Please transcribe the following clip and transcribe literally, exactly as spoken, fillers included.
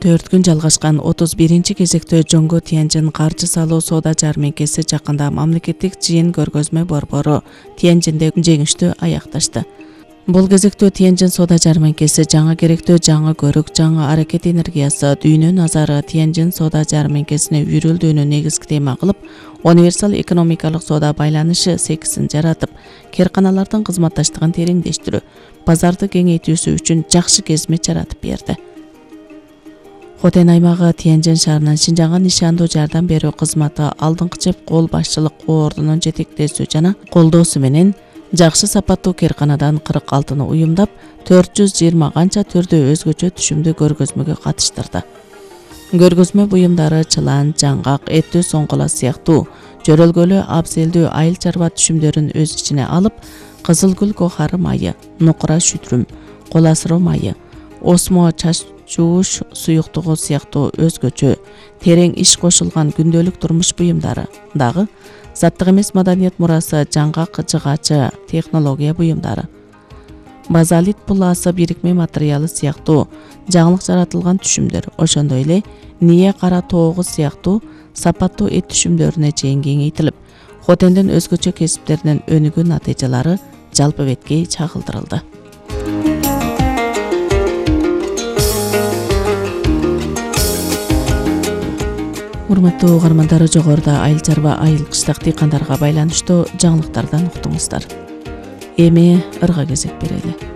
төрт күн жалгашкан отуз биринчи кезектөө Жоңго Тяньжин каржы салуу соода жармеңкеси жакында мамлекеттик жыйын көргөзмө борбору Тяньжинде жеңиштүү аякташты. Бул кезектөө Тяньжин соода жармеңкеси жаңы керектөө жаңы көрүк, жаңы аракет энергиясы, дүйнө назары Тяньжин соода жармеңкесине үйрүлдүүнү негизги тема кылып, универсал экономикалык соода байланышы сексин жаратып, кээрканалардын кызматташтыгын тереңдештирүү, базарды кеңейтүүсү үчүн жакшы кезмет жаратып берди. Хотен аймагы Тяньжин шаарынын Шинжаңга нишандуу жардам берүү кызматы алдыңкы жеп кол башчылык ордунун жетектесүү жана колдоосу менен жакшы сапаттуу кээрканадан кырк алтыны уюмдап, төрт жүз жыйырма канча түрдүү өзгөчө түшүмдүү көргөзмөгө катыштырды. Көргөзмө буюмдары чылан, жаңгак, эттүү соңгола сыяктуу жөрөлгөлүү абзелдүү айыл чарба түшүмдөрүн өз ичине алып, кызыл гүл кохары майы, нукура шүтрүм, кол асыроо майы, осмо чач жууш суюктугу сыяктуу өзгөчө терең иш кошулган күндөлүк турмуш буюмдары дагы, заттык эмес маданият мурасы жаңгак жыгачы технология буюмдары, базалит пуласы бирикме материалы сыяктуу жаңылык жаратылган түшүмдөр, ошондой эле ния кара тоогу сыяктуу сапаттуу эт түшүмдөрүнө чейин кеңейтилип, Хотендин өзгөчө кесиптеринен өнүгүү натыйжалары жалпы бетке чагылдырылды. Урматтуу угармандар, жогоруда айыл чарба айыл кыштак дыйкандарга байланыштуу жаңылыктардан уктуңуздар. Эми ырга кезек берели.